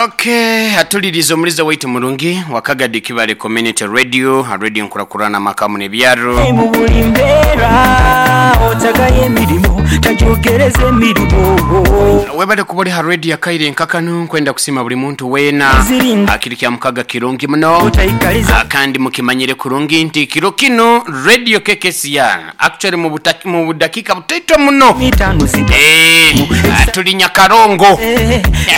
Okay, atuliriza omuliza waitu murungi wakagadi Kibale Community Radio, radio nkurakurana makamu n'ebyaro. Mu buli mbeera otagayo emirimu tajogereza emirimu. Webale kuba oli ha radio akaire nkakanu, nkwenda kusima buli muntu weena. Zirinda. Akiri kya mukaga kirungi muno. Otaikaliza. Kandi mukimanyire kurungi nti kiro kino radio KKCR actually mu budakika butaito muno. Mitano sita. Tuli Nyakarongo.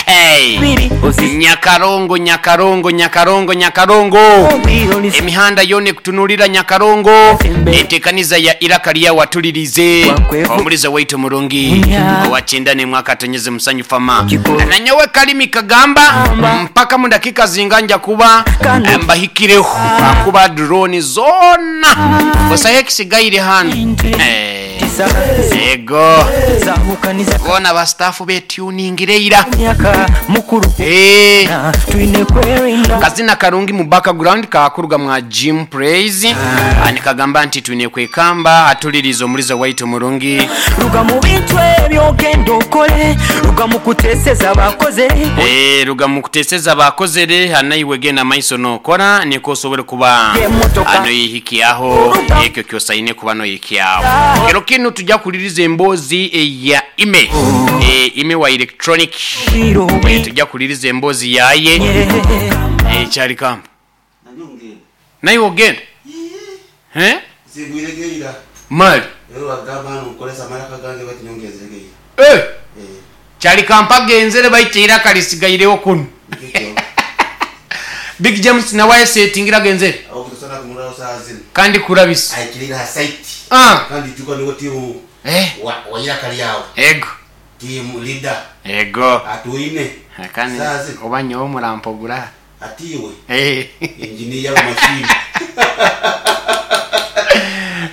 Hey. Biri osi. Nyakarongo, Nyakarongo, Nyakarongo, Nyakarongo. Obi oli. Emihanda yone kutunulira Nyakarongo. Entekaniza ya iraka lya watulirize. Wakwefu. Omuliza waitu murungi. Munya. Owachenda ne mwaka tonyeze musanyu fama. Kiko. Na nyowe kalimi kagamba Amba. mpaka mu dakika zinganja kuba Kano. mbahikireho. Akuba drone zona. Gusa ekisigaire hano. Inte. Tisa. Ego. Zahukaniza. Bona ba staff be tuning reira. Myaka mukuru. Na, twine kwerinda. Kazina karungi mu background kakuruga mwa Jim Praise. Ani kagamba nti twine kwekamba atuliriza omuliza waitu murungi. Ruga mu bintu ebyo genda okole, ruga mu kuteseza bakoze. Ruga mu kuteseza bakozere, anaiwe genda maiso nokora niko osobole kuba Emotoka. ano yihikiaho Ruga. ekyo kyosaine kuba no yihikiaho. Kero kino tujja kuliriza embozi ya ime. Ime wa electronic. Biro. Tujja kuliriza embozi yaye. Kyali kamba. Naye ogenda? Zigwiregeira. Mali. Rero bagamba hano nkolesa amaraka gange bati nyongezeregeira. Kyali kampa genzere baiteera kalisigairewo kuno. Nikyo. Big James nawe asetingira genzere. Aho kutosana kumurao saa zino. Kandi kurabisa. Aikirira ha site. Kandi juka niwo timu. Wa kali yao. Ego. Team leader. Ego. Atuine. Kandi Saa zino. oba nyowe murampogura. Atiwe. Engineer wa machine.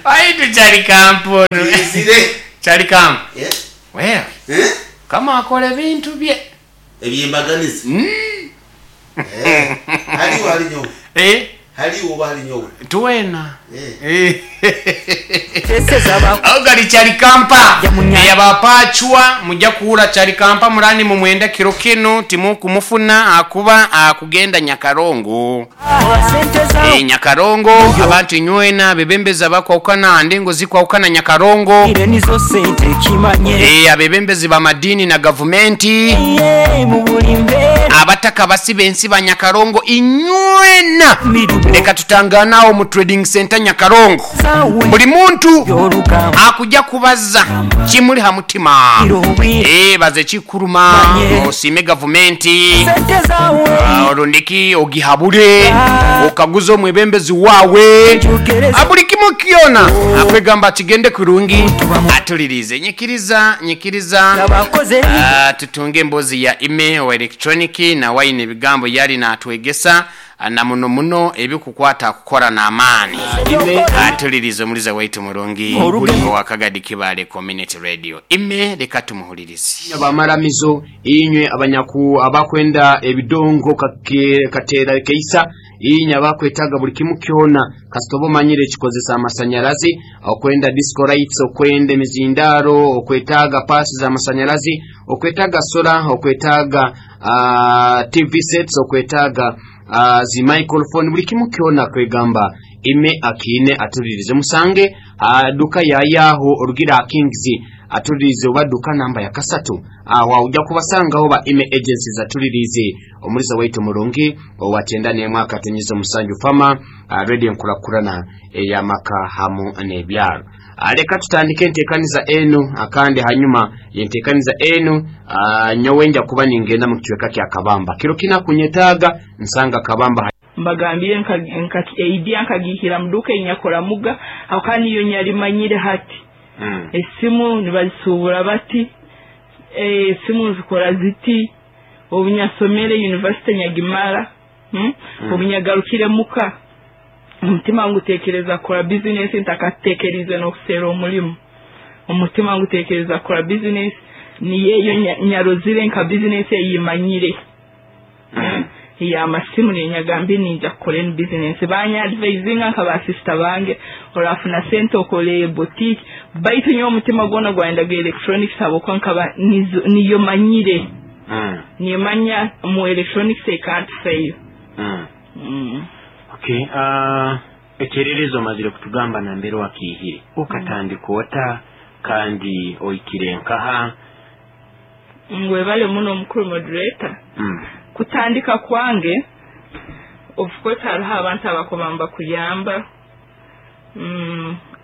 Aitu kyali kampo. Izire. Kyali kampo. Well. Kama akora ebintu bye. Ebyembaganizi. Haliwo hali nyowe. Haliwo oba hali nyowe. Tuwena. Teseza ba- Aho kyali kampa. Ya munya. Eyabapachwa mujja kuwula kyali kampa murani mu mwenda kiro kino timu kumufuna akuba akugenda Nyakarongo. Sente za- Nyakarongo abantu nywena bebembeza bakwaukana ndengo zikwaukana Nyakarongo. Ire nizo sente kimanye. Abebembezi ba madini na gavumenti. Ye, mu buli mbeera. Abataka basiba ensi ba Nyakarongo inywena. Mirubo. Leka tutanganawo mu trading center Nyakarongo. Zawe. Buli muntu Yoruka. akujja kubaza kimuli ha mutima. Irobi. Baze kikuruma, Manye. osime gavumenti. Sente zawe. Olundiki ogihabule, okaguze omwebembezi wawe. Njugereza. Abuli kimu kyona. Akwegamba kigende kurungi. Atulirize. Nyikiriza, nyikiriza. Abakoze. Tutunge embozi ya ime wa electronic na waine ebigambo yali natwegesa na muno muno ebikukwata kukora n'amaani. Atulirize omuliza waitu murungi Oruge. wa Kagadi Kibale Community Radio. Ime reka tumuhulirize. Abamaramizo inywe abanyaku abakwenda ebidongo katera keisa inywe abakwetaga buli kimu kyona kasitobo manyire ekikozesa amasanyalazi okwenda disco lights okwenda emizindaro okwetaga pasi za masanyalazi okwetaga sola okwetaga TV sets okwetaga zi microphone buli kimu kyona kwegamba ime akine atulirize musange duka ya yaho orugira Kings atulirize oba duka namba ya kasatu awa ujja kubasangaho ba ime agencies atulirize omuliza waitu murungi owatenda ne mwaka tunyize musanju fama radio nkurakurana eyamaka hamu n'ebyalo. Leka tutandike enteekaniza enu akandi hanyuma yenteekaniza enu nyowe nja kuba ningenda mu kichweka kya Kabamba kiro kina kunyetaaga nsanga Kabamba. Mbagambire eidia nkagihira mu duka enyakora muga aho kandi iyo nyarimanyire hati. Esimu nibazisubura bati, esimu zikora ziti obunyasomere university nyagimara, obunyagarukire muka umutima ngutekereza kora business ntakatekereze no kusera omulimu. Umutima ngutekereza kora business ni yeyo nyarozire nka business eyimanyire. Ya masimu ni nyagambi ninja kora business banya advising nka ba sister bange orafuna sente okole boutique baitu nyo umutima gona gwenda ga electronics abo kwa nkaba niyo manyire. Nimanya mu electronics I can't fail. Okay, ekyererezi omazire kutugamba nambere wakiihire, okatandika ota kandi oikire nkaha? Ngwebale muno, omukuru moderator. Kutandika kwange, of course hariho abantu abakuba nibakuyamba.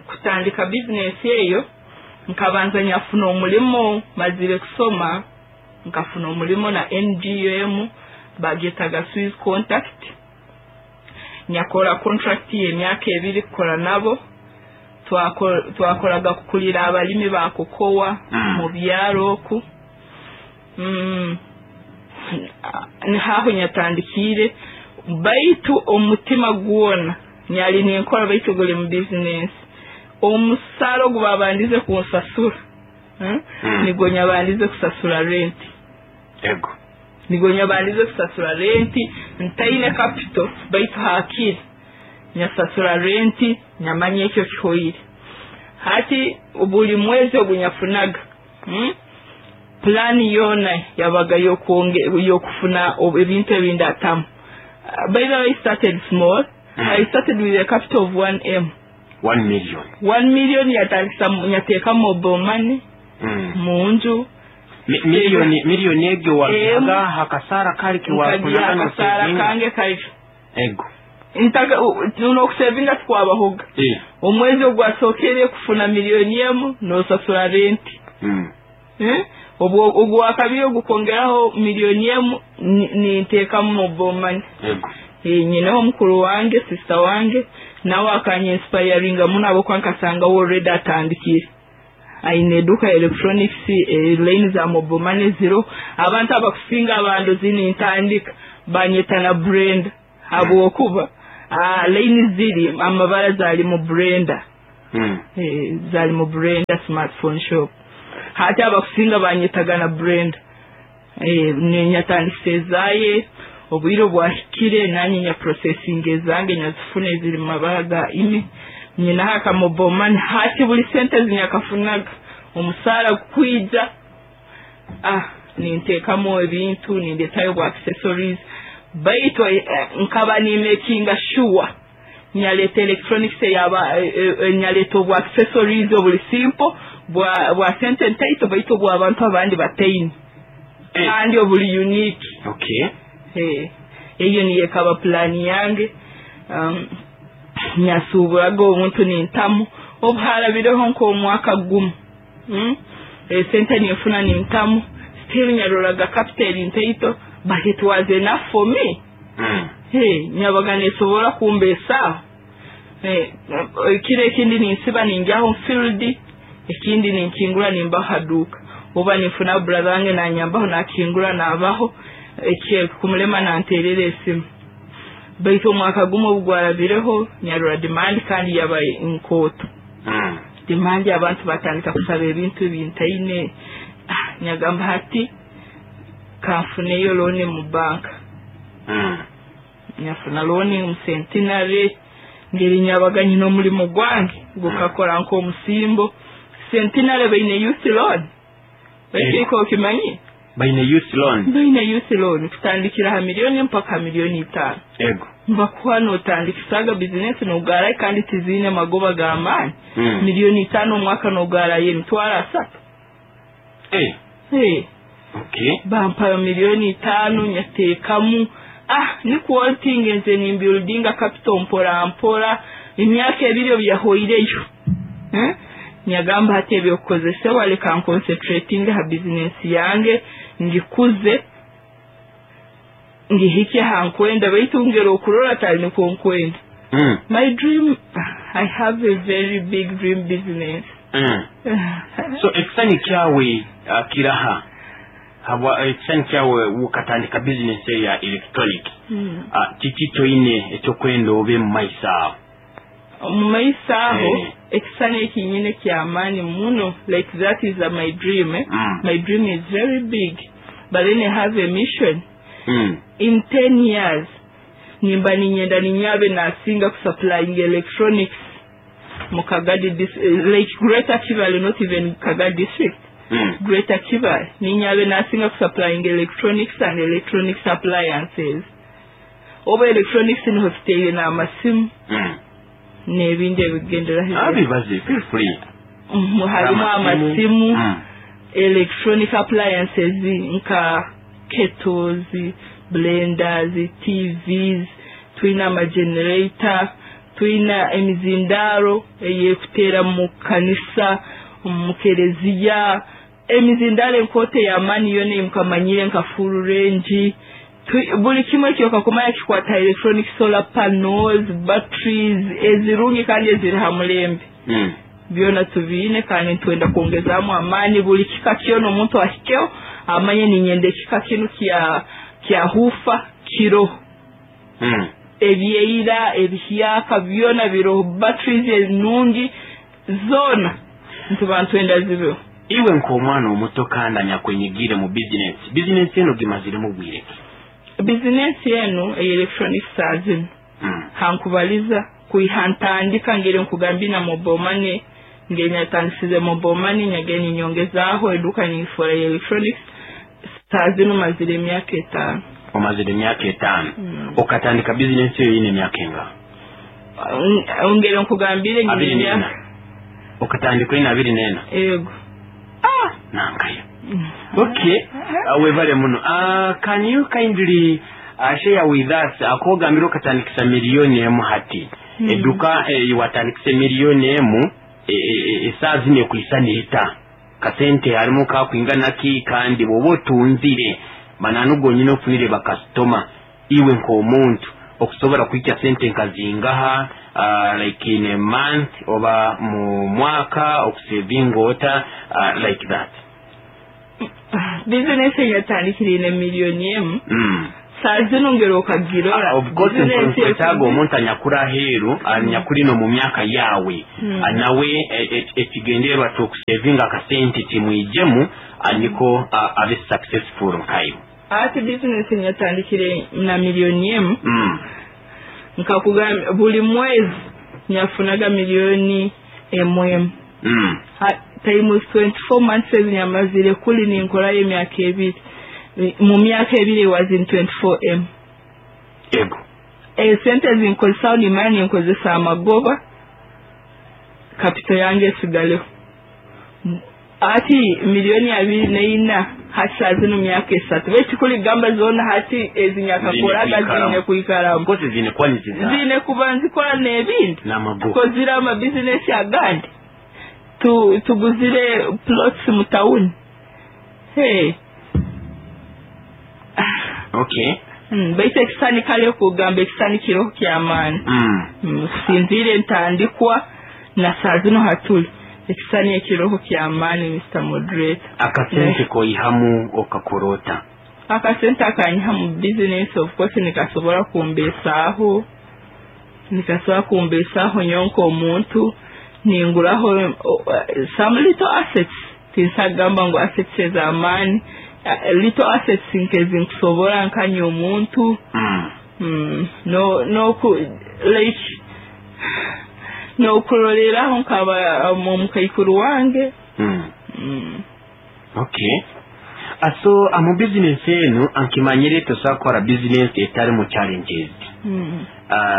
Kutandika bizinesi eyo, nkabanza nyafuna omulimo. Mazire kusoma, nkafuna omulimo na NGO bagetaga Swiss Contact. Nyakora contract y'emyaka 2 kukora nabo. Twakoraga kukulira abalimi ba kokowa mu byaro oku. Nihaho nyatandikiire, baitu omutima gwona nyali ninkora, baitu guli mu bizinesi. Omusaara ogu babandize kunsasura, nigwo nyabandize kusasura renti. Nigwo nyabandize kusasura renti ntaine capital, baitu hakiri nyasasura renti, nyamanya ekyo kihoire. Hati buli mwezi ogu nyafunaga, Plani yoona yabaga yokufuna ebintu ebindatamu. By the way, I started small. I started with a capital of 1M. 1 million? 1 million yatandikisa, nyateeka mobile money munju. Miliyoni egyo wagihaga hakasara kali? Nkagira kiwafunaga? Akasara Nosevinga? Kange kali. Ego. Nokusevinga tikwabahoga. Omwezi ogwasookere kufuna 1 million nosasura renti. Eh? Obwo ogwakabiri ogukongeraho 1 million ninteekamu mobile money. Nyineho mukuru wange, sister wange, nawe akanyinspiringa muno abwokuba nkasanga we already atandikire, aine eduka ya electronics, line za mobile money ziro. Abantu abakusinga abandozi nintandika banyeta na Brenda, habwokuba line ziri amabara zali mu Brenda. Zali mu Brenda smartphone shop. Hati abakusinga banyetaga na Brenda. Ninyatandikisa ezaye. Obwire bwahikire nanye nya processing ezange, nyazifuna eziri mu mabara ga ime. Nyinaho aka mobile money. Hati buli sente zinyakafunaga, omusaara gukwija, ninteekamu ebintu, nindetayo bwa accessories, baitu nkaba nimakinga sure nyaleta electronics eyaba nyaleta obwa accessories obuli simple, bwa sente ntaito, baitu obw'abantu abandi bataine kandi obuli unique. Eyo niyo ekaba plani yange. Nyasuuburaga obuntu nintamu. Obu harabireho nk'omwaka gumu, Esente ninfuna nintamu, still nyaroraga capital ntaito, but it was enough for me. Hey, nyabaga nesobora kumbesaho. Kiro ekindi ninsiba ninjaho field, ekindi ninkingura nimbaho haduka, oba ninfuna brother wange nanyambaho nakingura nabaho kumulema nanterera esimu. Baitu omwaka gumu obu gwarabireho, nyarora demand kandi yaba nkooto. Demand, abantu batandika kusaba ebintu ebintaine. Nyagamba hati kanfuneyo loan mu banka. Nyafuna loan mu Centenary. Ngeri nyabaga nyina omulimu gwange gukakora nk'omusimbo. Centenary baine youth loan. Baitiko okimanyi? Baine youth loan? Baine youth loan kutandikira ha miliyoni mpaka 5 miliyoni. Nibakuha notandikisaga bizinesi nogarayo, kandi tiziine magoba g'amaani. 5 miliyoni omwaka nogarayo 300,000. Hey. Bampa 5 miliyoni nyateekamu. Nikwo ntingenze nimbuildinga capital mpora mpora. Emyaka 2 obu yahoireyo, eh? Nyagamba hati ebyokukozesebwa, leka nconcentrating ha bizinesi yange, ngikuze ngihike ha nkwenda, baitu ngera okurora tali nikwo nkwenda. My dream, I have a very big dream business. So ekisani kyawe kiraha habwa ekisani kyawe ukatandika business ya electronic? Kiki kyoine ekyokwenda obe mu maiso aho? Omu maiso aho? Eh. Ekisani ekinyine kyamaani muno, like that is my dream, eh? My dream is very big, but then I have a mission. In 10 years nimba ninyenda ninyabe nasinga kusupplying electronics mu Kagadi, like Greater Kibale, not even Kagadi district. Greater Kibaale ninyabe nasinga kusupplying electronics and electronics appliances. Oba electronics niho tuteire n'amasimu n'ebindi ebigenderaho. Abibaze, feel free. Harimu amasimu, electronic appliances nka kettles, blenders, TVs, twina amagenerator, twina emizindaro eyekuteera mu kanisa, mu kereziya, emizindaro enkooto ey'amaani yona emukamanyire nka full range. Buli kimwe kyokakumanya kikwata electronic, solar panels, batteries ezirungi kandi eziri ha mulembe. Byona tubiine kandi nitwenda kwongezamu amaani. Buli kika kyona omuntu ahikeho amanye ninyenda ekika kinu kya woofer kiroho. Ebyeira, ebihyaka, byona biroho. Batteries enungi zona ntuba ntwenda zibeho. Iwe nk'omwana omuto kandi anyakwenyigire mu bizinesi eno, gimaziremu bwire ki? Bizinesi enu electronics saa zino hankubaliza kwiha ntandika, ngeri nkugambye na mobile money, ngeri nyatandisize mobile money, nyagenda ninyongezaaho eduka ningifora ya electronics, saa zino mazire emyaka 5. Omazire emyaka 5. Okatandika bizinesi eyo yine emyaka enga? Ngeri nkugambire nyine Abiri emyaka n'ena. Okatandika oyine 24? Ego. Nankayo. Okay, webale muno. Can you kindly share with us akogambira okatandikisa 1 million hati eduka watandikisa 1 million, esaaha zino ekwisa neeta kasente harimu kakwingana ki? Kandi bwoba otunzire mananu gonyine ofunire bakasitoma, iwe nk'omuntu okusobola kuhikya sente nkazingaha, like in a month oba mu mwaka, okusevinga ota, like that? Bizinesi eyatandikire 1 million, saa zino ngeri okagirora Of course, bizinesi nkwetaaga omuntu anyakuri aheeru, anyakuri no mu myaka yawe, nawe ekigendererwa kyokusevinga akasente kimwijemu, niko abe successful nkayo. Ati bizinesi nyatandikire na 1 million, nkakugamba buli mwezi nyafunaga 1 million. Times 24 months nyamazire kuli ninkorayo emyaka 2. Mu myaka 2 was in 24 m. Ego. Esente zinkozesaho nimanya ninkozesa amagoba, capital yange esigaleho. Ati 24 million hati saa zino myaka 3, bekikuli gamba zona hati ezinyakakoraga Zine zine kwikaramu. Of course, zine kuba niziza Zine kuba nzikora n'ebindi. N'amagoba. Tukozire amabizinesi agandi, tuguzire plots mu tawuni, hey. Okay. Baitu ekisani kale kugamba ekisani kiroho kyamaani. Kusinziire ntandikwa na saa zino hatuli, ekisani ekiroho kyamaani, Mr Moderator. Akasente koyihamu okakorota? Akasente akanyiha mu business, of course nikasobora kumbesaaho, nikasobora kumbesaaho nyonka omuntu, ninguraho some little assets. Tinsagamba ngu assets ez'amaani, little assets nkezi nkusobora nkanya omuntu. No like nokuroreraho nkaba omukaikuru wange. Okay, so mu bizinesi enu ankimanyire tosobola kukora bizinesi etarimu challenges.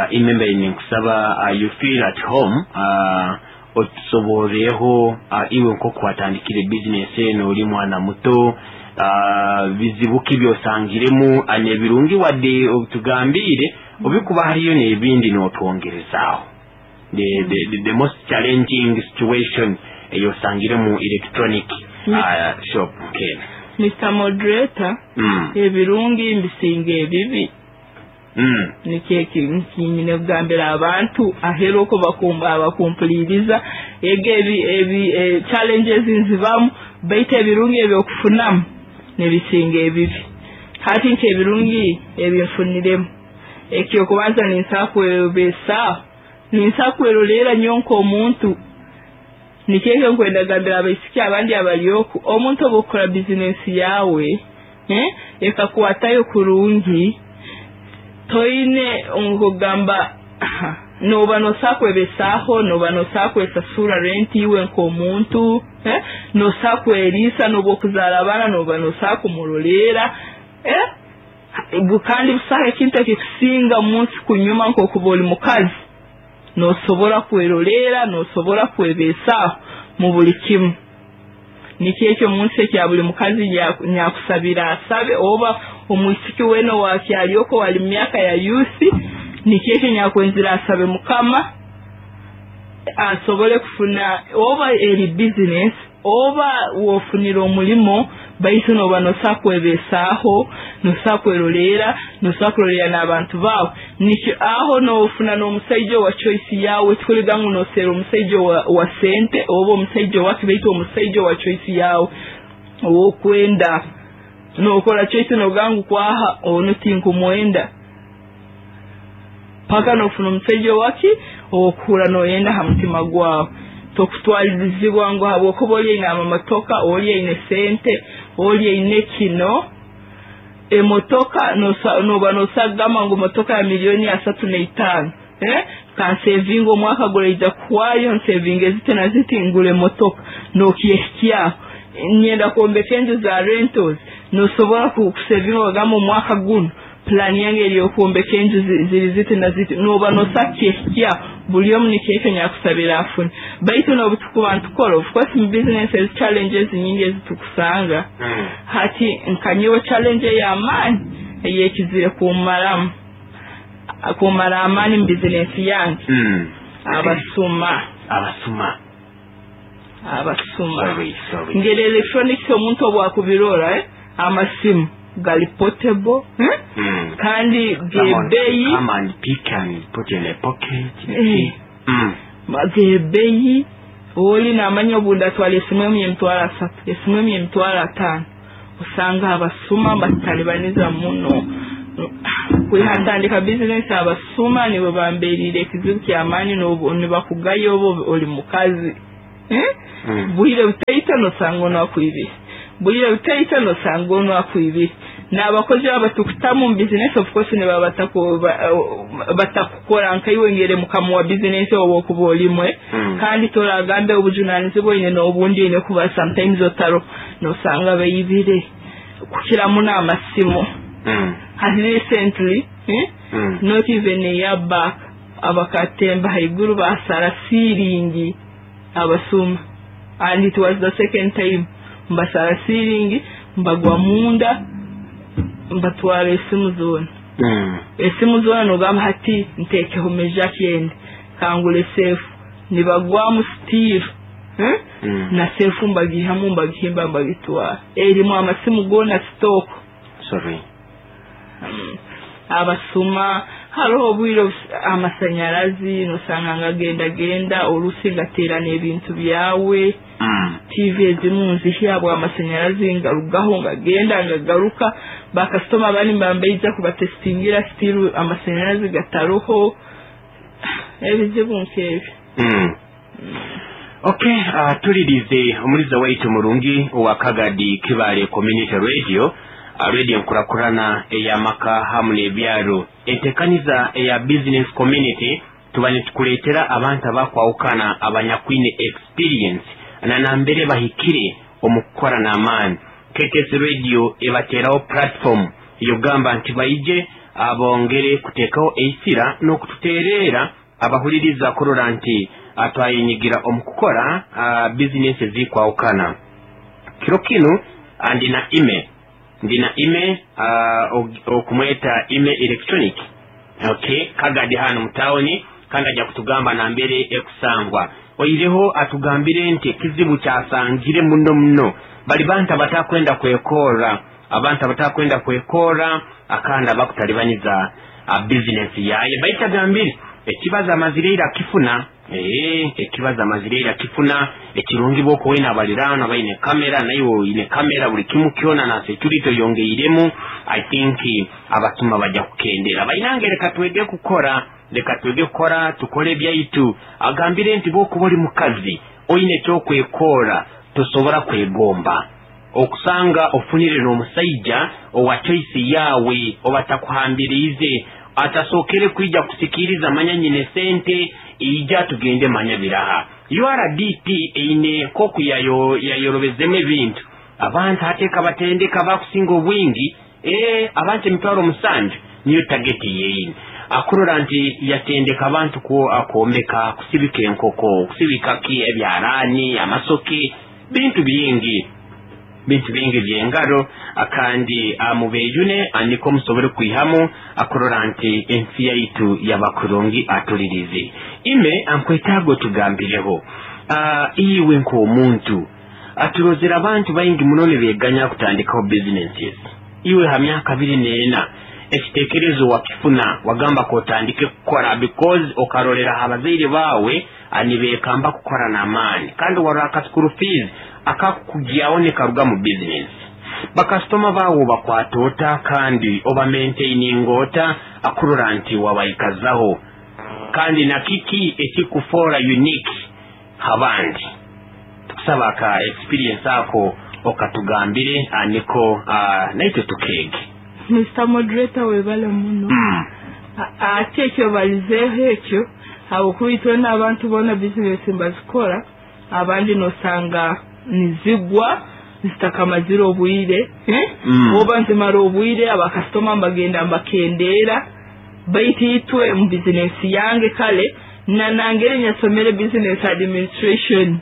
Imembe ninkusaba, you feel at home, otusoboreho, iwe nkoku watandikire bizinesi eno oli mwana muto, bizibu ki byosangiremu, n'ebirungi wadde obitugambire, obikuba hariyo n'ebindi n'otwongerezaaho, the most challenging situation eyosangire mu electronic shop nkeno. Mr Moderator, ebirungi mbisinga ebibi. Nikyo kinyine kugambira abantu aheru oko bakumpuliriza. Ego ebi challenges nzibamu, baitu ebirungi ebyokufunamu nibisinga ebibi. Hati nk'ebirungi ebinfuniremu, ekyokubanza ninsobola kwebesaaho, ninsobola kwerorera nyo nk'omuntu. Nikyo ekyo nkwenda kugambira abaisiki abandi abali oku, omuntu oba okukora bizinesi yawe, ekakwatayo kurungi, toine nkugamba Noba nosobola kwebesaaho, noba nosobola kwesasura renti iwe nk'omuntu, nosobola kweriisa, noba okuzaara abaana noba nosobola kumuroleera, kandi busaho ekintu ekikusinga munsi kunyuma nk'okuba oli mukazi. Nosobora kweroleera, nosobora kwebesaaho mu buli kimu. Nikyo ekyo munsi ekya buli mukazi nyakusabira asabe, oba omwisiki weena owakyali oko wali mu myaka ya youth, nikyo ekyo nyakwenzire asabe Mukama asobole kufuna, oba eri business oba wofunire omulimo, baitu noba nosobola kwebesaaho, nosobola kweroleera, nosobola kuroleera n'abantu baawe. Nikyo aho nofuna n'omusaija owa choice yawe, tikuliga ngu noseera omusaija wa sente oba omusaija owaki, baitu omusaija owa choice yawe owokwenda. Nokora choice nogamba ngu kwaha onu tinkumwenda, paka nofuna omusaija owaki owokuhura noyenda ha mutima gwawe. Tokutwalirizibwa ngu habwokuba oli aine amamotoka, oli aine sente, oli aine kino emotoka, noba nosagamba ngu motoka ya 35 miliyoni, kansevinga omwaka guraija kuhwayo, nsevinga eziti na ziti ngure emotoka, nokyehikyaho. Nyenda kwombeka enju za rentals, nosobora kusevinga ogamba omwaka guno plan yange eri okwombeka enju ziri ziti na ziti, noba nosa kyehikyaho. Buli omu nikyo ekyo nyakusabira afune. Baitu nobu tukuba ntukora, of course mu business ezi challenges nyingi ezitukusanga. Hati nkanyowe challenge ey'amaani eyekizire kumaramu kumara amaani mu bizinesi yange, abasuma. Abasuma. Abasuma. Sorry, sorry. Ngeri electronics omuntu obwakubirora, amasimu gali portable, eh? Kandi Someone gebeyi. come and pick and put in a pocket. Gebeyi, oli namanya obundi atwala esimu emu y'30,000, esimu emu y'50,000. Osanga abasuma batalibaniza muno. Kwihatandika bizinesi, abasuma nibo bamberire ekizibu kyamaani. Nibakugaya oba oli mukazi, eh? Bwire butaito nosanga ono akwibire, bwire butaito nosanga ono akwibire. N'abakozi abatukutamu mu bizinesi, of course nibaba batakukora nkaiwe ngere mukama wa bizinesi oba okuba olimwe. Kandi toragambe obujunanizibwa oine n'obundi oine kuba sometimes otaro, nosanga baibire kukira muno amasimu. Hati recently, eh? Not even a year back, abakatemba haiguru basara ceiling abasuma, and it was the second time mbasara ceiling, mbagwa munda, mbatwara esimu zoona. Esimu zoona, nogamba hati ntekeho meja kyende kangure sefu, nibagwamu still, eh? Na sefu mbagihamu, mbagihimba, mbagitwara, erimu amasimu goona stock. Sorry. Abasuma. Hariho obwire amasanyarazi nosanga ngagendagenda, olusi ngaterana ebintu byawe. TV ezimu nzihya bwa amasanyarazi ngarugaho ngagenda ngagaruka. Bakasitoma bani mbambaija kubatestingira, still amasanyarazi gataroho. Ebizibu nk'ebyo. Okay, tulirize omuliza waitu murungi owa Kagadi Kibale Community Radio, radio enkurakurana ey'amaka hamu n'ebyaro, entekaniza eya business community. Tuba nitukuleetera abantu abakwawukana abanyakwine experience na nambere bahikire omu kukora n'amaani. KKS Radio ebateraho platform yogamba nti baije abongere kuteekaho eisira n'okututeerera abahuliriza kurora nti atwayinyigira omu kukora bizinesi ezikwawukana. Kiro kinu ndina ime okumweta Ime Electronic, okay, Kagadi hano mutawuni, kandi ajja kutugamba nambere ekusangwa. Oireho atugambire nti ekizibu kyasangire muno muno bali bantu abatakwenda kwekora, abantu abatakwenda kwekora akandi abakutalibaniza bizinesi yaye. Baitu agambire ekibazo amazire akifuna, ekibazo amazire akifuna. Ekirungi bwoko wena abaliraano baine kamera, naye oine kamera, buli kimu kyona na security oyongeiremu, I think abasuma bajja kukendera. Bainange, leka twege kukora, leka twege kukora, tukole ebyaitu. Agambire nti bwokuba oli mukazi oine ekyokwekora, tosobora kwegomba okusanga ofunire n'omusaija owa choice yawe oba takuhambiriize. Atasookere kwija kusikiiriza manya nyine sente ija tugende manya biraha. URDP eine nk'oku yayorobezemu ebintu. Abantu hateeka batendeka bakusinga obwingi, abantu 700,000 niyo tageti yeine. Akurora nti yatendeka abantu kwombeka, kusibika enkoko, kusibika ki ebyarani, amasoke, bintu bingi. Bintu bingi byengaro akandi amubeyune aniko musobole kwihamu akurora nti ensi yaitu yabakurungi atulirize. Ime ankwetaago tugambireho. Iwe nk'omuntu aturozera abantu baingi muno nibeganya kutandikaho businesses. Iwe ha myaka 24 ekitekerezo wakifuna wagamba ko otandike kukora because okarolera abazaire bawe anibekamba kukora n'amaani kandi waraka school fees akakugyaho nekaruga mu business. Bakasitoma bawo bakwata ota kandi oba maintaining ota akurora nti wabayikazaho kandi na kiki ekikufora unique habandi. Tukusaba ka experience ako okatugambire aniko naitwe tukege. Mr. Moderator webale muno. Ate ekyo balizeeho ekyo habwokuba n'abantu boona business mbazikora abandi nosanga nizigwa zitakamazire obwire oba nzimara obwire abakasitoma mbagenda mbakendera baitu itwe mu business yange kale na nangere nyasomere business administration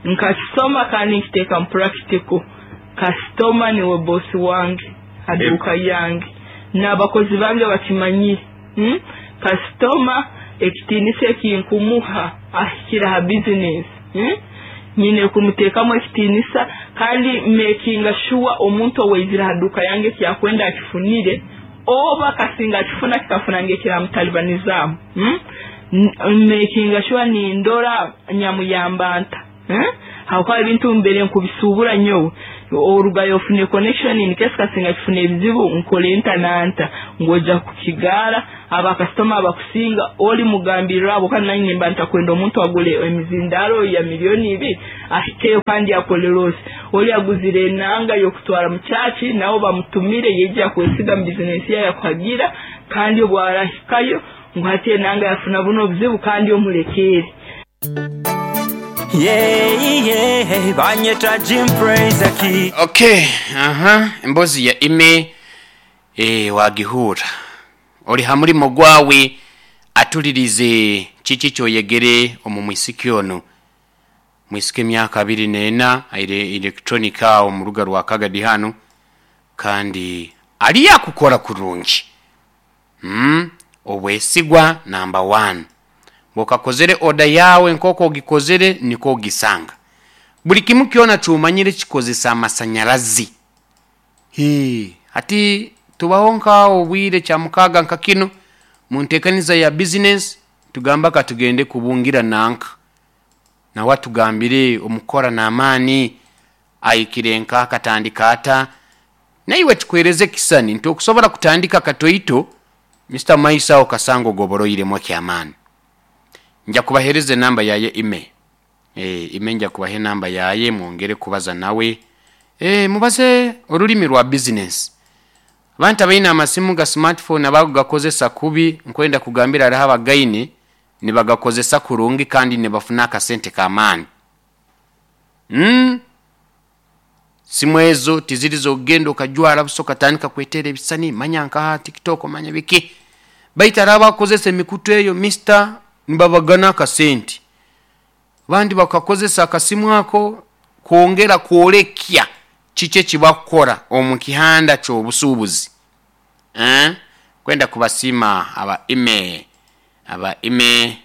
nkasoma kandi nkiteeka mu practical. Kasitoma niwe bosi wange aduka yange n'abakozi bange bakimanyire. Kasitoma ekitiinisa ekinkumuha ahikira ha business. Nyine kumuteekamu ekitiinisa kandi making sure omuntu oweizira haduka yange kyakwenda akifunire oba kasinga akifuna kikafuna ngekiramutalibanizamu. Making sure nindora nyamuyambanta. Hakuba ebintu mbere nkubisubura nyowe orugayo ofune connection in case kasinga kifune ebizibu nkole ntananta ngoja kukigara abakasitoma abakusinga oli mugambirira abo kandi nanye mba ntakwenda omuntu agule emizindaro ya 2 million ahikeyo kandi akole loss. Oli aguzire enanga yokutwara mu chachi nabo bamutumire yeje kwesiga mu business ya yakuhagira kandi obwarahikayo ngo hati enanga yafuna buno obuzibu kandi omulekere. Yeah, banyeta Jim Praise ki. Okay, embozi ya ime wagihura. Oli hamulimo gwawe atulirize kiki kyoyegere omu mwisiki ono. Mwisiki emyaka 24 aire electronica omu ruga rwa Kagadi hano kandi ali yakukora kurungi. Obwesigwa number 1. Bokakozere oda yawe nkoko ogikozere niko ogisanga. Buli kimu kyona kyomanyire kikozesa amasanyalazi. Ati tubaho nkawo obwire kya mukaga nka kino mu nteekaniza ya business tugamba katugende kubungira nanka. Nawe atugambire omukora n'amaani ayikire nka akatandika ata. Naiwe tukwereze kisani nti okusobola kutandika katoito Mr. Maisa okasango goboroiremu ekyamaani. Nja kubahereza enamba yaye ime. Ime nja kubaha enamba yaye mwongere kubaza nawe. Mubaze olulimi rwa business. Abantu abaine amasimu ga smartphone abagugakozesa kubi nkwenda kugambira hariho abagaine nibagakozesa kurungi kandi nibafuna akasente k'amaani. Simu ezo tizirizo ogenda okajwara buso katandika kwetera ebisani manya nkaha TikTok manya biki. Baitu hariho abakozesa emikutu eyo Mr. nibabagana akasente. Abandi bakakozesa akasimu ako kwongera kwolekya kiki ekibakukora omu kihanda ky'obusuubuzi. Kwenda kubasiima aba ime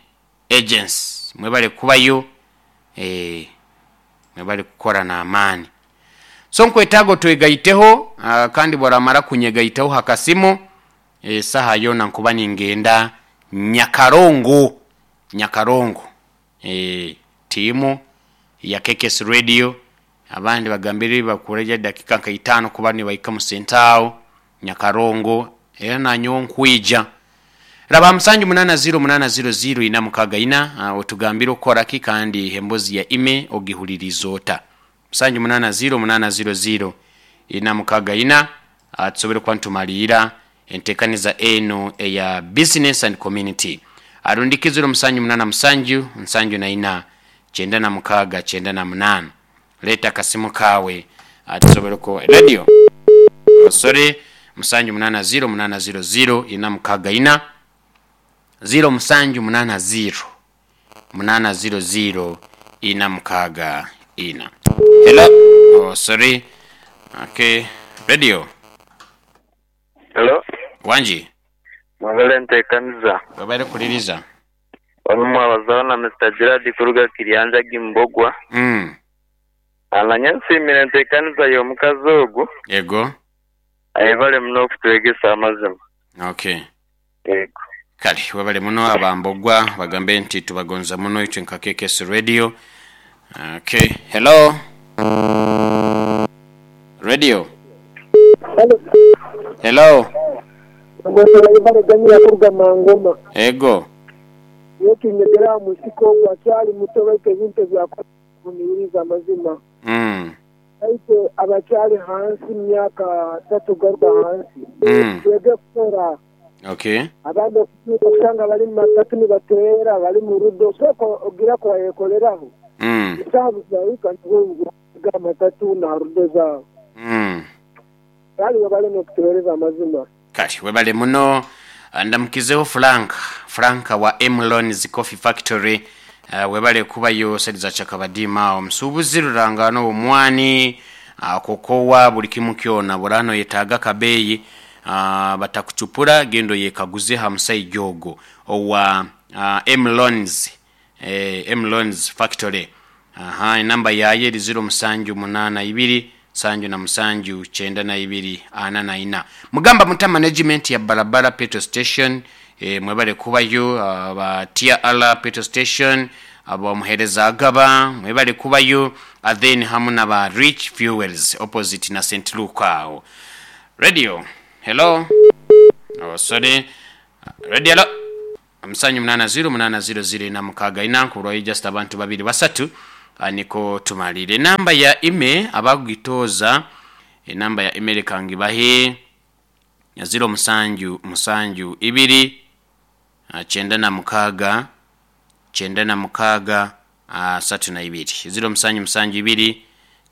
agents mwebale kubayo, mwebale kukora n'amaani. So nkwetaaga twegaiteho kandi bwaramara kunyegaitaho hakasimu saha yona nkuba ningenda Nyakarongo. Timu ya KKS Radio abandi bagambire bakureja dakika nka 5 kuba nibaika mu sentao Nyakarongo era nanyo nkwija. Raba 78080 464 otugambire okora ki kandi embozi ya ime ogihuliriza ota. 78080 464 tusobole kuba ntumalira Entekaniza enu eya business and community arundiki 078 74 96 98. Leeta akasimu kaawe tusobole ku radio. Oh, sorry, 780 800 464 0780 800 464. Hello. Oh, sorry. Okay. Radio. Hello. Wangi. Mwebale ntekaniza. Webale kuliriza. Wano mwabazaho na Mister Gerard kuruga Kiryanjagi Mbogwa. Nanye nsiimire entekaniza y'omukazi ogu. Yego. Ayebale muno okutwegesa amazima. Okay. Yego. Kale webale muno abambogwa bagambe nti tubagonza muno itwe nka KKS Radio. Okay. Hello. Radio. Hello. Hello. Ganyira kuruga Mangoma. Ego. Yekinyegera musiko ogwo akyali muto baitu ebintu ebyakuvumiririza amazima. Baitu abakyali hansi myaka 3 garuka hansi. Twege kukora. Okay. Abandi okusanga bali mu matatu nibateera bali mu rudo sooka ogira kubayekoleraho. Esaabu zahika nibo amatatu na rudo zaabo. Kale webale n'okutuweereza amazima. Kale webale muno. Ndamukizeho Frank, Frank wa Emlons Coffee Factory. Webale kubayo sali za Chakabadima omusuubuzi rurangano omwani kokowa buli kimu kyona burano yetaaga kabeeyi batakucupura gendo yekaguze ha musaija ogwo owa Emlons, Emlons Factory. Aha, enamba yaye eri 0782 77 92 44. Mugamba muta management ya Barabara Petrol Station, mwebale kubayo aba TRL Petrol Station, aba muhereza agaba mwebale kubayo, then hamu na ba Rich Fuels opposite na St. Luke awo. Radio. Hello. Oh, sorry. Radio hello. 780 800 464 kulwa just abantu babiri basatu niko tumalire. Namba ya email abagitoza, enamba ya email kangibahe ya 07 7 2 96 96 32 07 7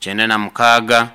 2 96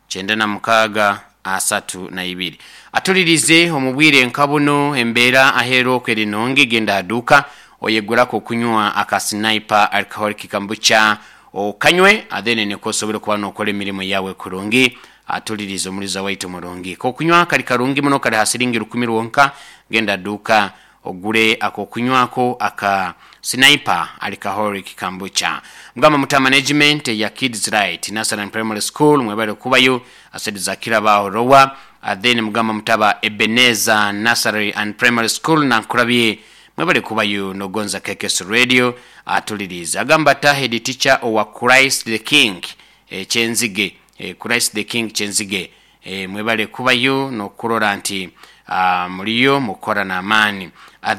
96 32. Atulirize omubwire nkabuno embeera ahero kwerinongi genda aduka oyegurako kunywa aka Sniper alcoholic kombucha okanywe athene nikosobole kuba nokola emirimu yawe kurungi. Atulirize omuliza waitu murungi kokunywa kali karungi muno kali hasiringi 10 wonka. Genda duka ogule ako kunywako aka Sniper alcoholic kombucha. Mugamba muta management ya Kids Right Nursery and Primary School mwebale kubayo asedi zakira bao rowa. Then mugamba mutaba Ebenezer Nursery and Primary School na nkurabye mwebale kubayo nogonza KKS Radio. Atuliriza agamba ta head teacher owa Christ the King Chenzige, Christ the King Chenzige, mwebale kubayo nokurora nti muliyo mukora na amani.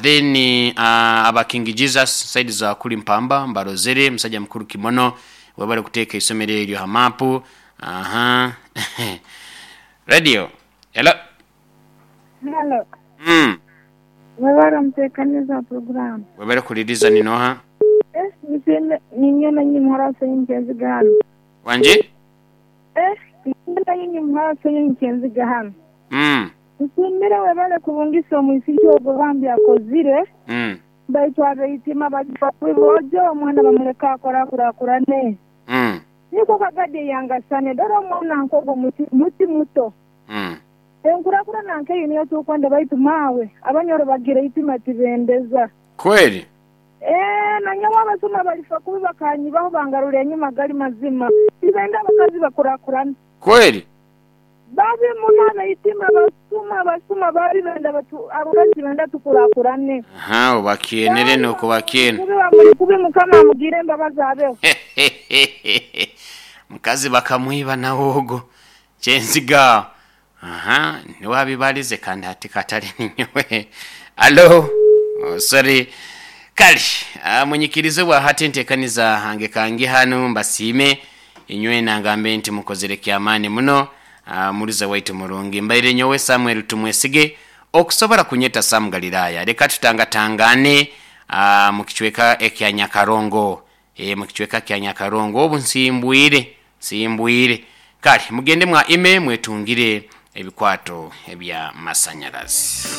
Then aba King Jesus side za kuli mpamba mbarozere musajja mukuru kimono webale kuteeka isomero eryo hamapu. Aha. Radio. Hello. Hello. Webale mtekaniza program. Webale kuliriza ninoha. Ninyona nyi muhara senyi hano. Wanje? Ninyona nyi muhara senyi hano. Nsimbire webale kubungisa omwisiki ogwo bambi akozire. Baitu abeitima bajibakubojo omwana bamuleka akora kurakurane. Niko kagade yangasane dora omwana nkogo muti muto. Enkurakura nanke niyo tukwenda baitu mawe abanyoro bagira itima tibendeza. Kweli? Na nyawa abasoma balifa kubi bakanyibaho bangarura enyuma gali mazima. Tibenda abakazi bakurakurana. Kweli? Babi munana itima basuma bali benda batu abakazi benda tukurakurane. Aha, obakienere no kubakiene. Kubi bamuri kubi mukama amugire mbabazi abeho. Mukazi bakamwiba nawogo. Chenziga. Aha, niwabibalize kandi hati katali ninyowe. Hello. Oh, sorry. Kali, munyikirize wa hati ntekaniza hange kangi hano mbasime inywe nangambe nti mukozere kyamani muno. Muliza waitu murungi mbaire nyowe Samuel Tumwesige Okusobora kunyeta Sam Galilaya, leka tutangatangane mu kicweka ekya Nyakarongo. Mu kicweka kya Nyakarongo obu nsimbwire, nsimbwire. Kale mugende mwa ime mwetungire ebikwato ebya masanyarazi.